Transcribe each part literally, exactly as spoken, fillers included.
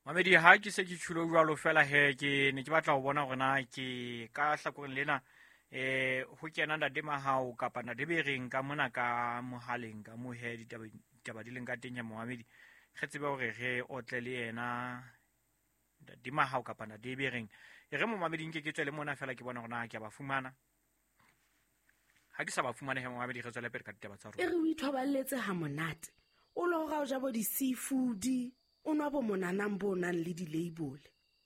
Mamedi ha ke se ke tjhulo jwalo fela he ke ne ke batla ho bona hore na ke ka hlakoreng lena eh ho kena ntate Mahao kapa ntate Bereng ka mona ka mohaleng ka mo he ditaba ditaba di leng ka teng ya momamedi re tsebe hore re otle le yena ntate Mahao kapa ntate Bereng. E re momamedi nke ke tswele mona fela ke bona hore na ke a ba fumana. Ha ke sa ba fumane he momamedi re tswele pele ka ditaba tsa E rona. re o ithoballetse ha monate. O lo ga o ja bo di-seafood, o nwa bo monanang bo nang le di-label.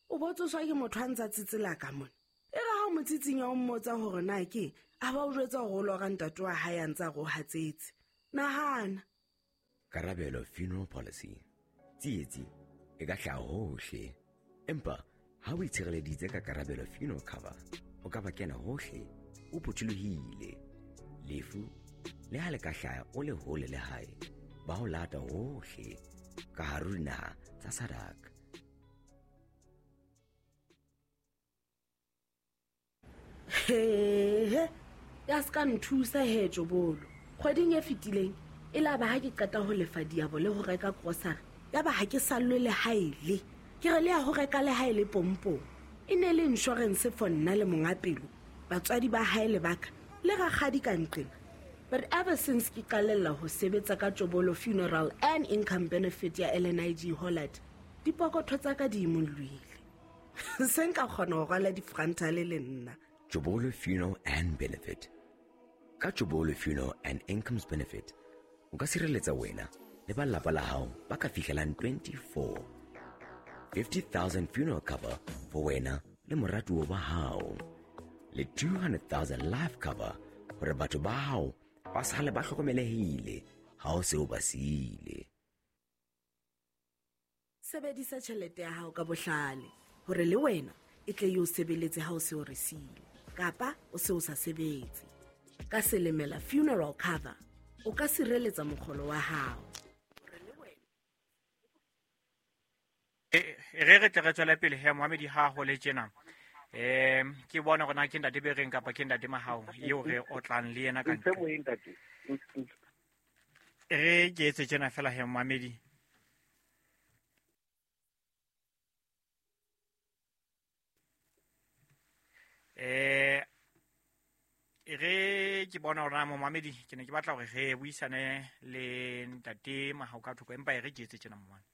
O bo tsoswa ke motho a ntsa tsetsela ka mona. E re ha o mo tsitsinya o mmotsa hore na ke a ba o jwetsa hore o lora ntate wa hae a ntsa re o hatsetse. Nahana. Karabelo Funeral Policy. Tsietsi e ka hlaha hohle. Empa ha o itshireleditse ka Karabelo Funeral Cover, o ka ba kena hohle o phuthulohile. Lefu le ha le ka hlaha o le hole le hae, ba ho lata hohle ka hare ho dinaha tsa SADC. Hehe, ya ska nthusa he Jobolo. Kgweding e fetileng e la ba ha ke qeta ho lefa diabo le ho reka grocery, ya ba ha ke sallwe le haele. Ke re le ya ho reka le haele pompong. E ne le insurance for nna le monga pelo, batswadi ba hae le baka, le rakgadi ka nqena. But ever since ke qalella ho sebetsa ka Jobolo Funeral and Income Benefit ya L N I G Hollard, dipokotho tsa ka di imollohile. Se nka kgona ho rwala di-frontal le nna. Jobolo Funeral and Benefit. Ka Jobolo Funeral and Incomes Benefit, o ka sireletsa wena le ba lelapa la hao ba ka fihlelang twenty-four. fifty thousand funeral cover for wena le moratuwa wa hao. Le two hundred thousand life cover hore batho ba hao ba sale ba hlokomelehile ha o se o ba siile. Sebedisa tjhelete ya hao ka bohlale hore le wena e tle e o sebeletse ha o se o re siile kapa o se o sa sebetse. Ka Selemela Funeral Cover o ka sireletsa mokgolo wa hao. E re re tle re tswele pele he momamedi ha ho le tjena. Eh ke bona hore na ke ntate Bereng kapa ke ntate Mahao eo re otlang le yena ka Ntse ntle. moyeng, ntate. Re ke etse tjena fela he momamedi. Eh re ke bona hore na momamedi ke ne ke batla hore re buisane le ntate Mahao ka thoko empa e re ke etse tjena momamedi.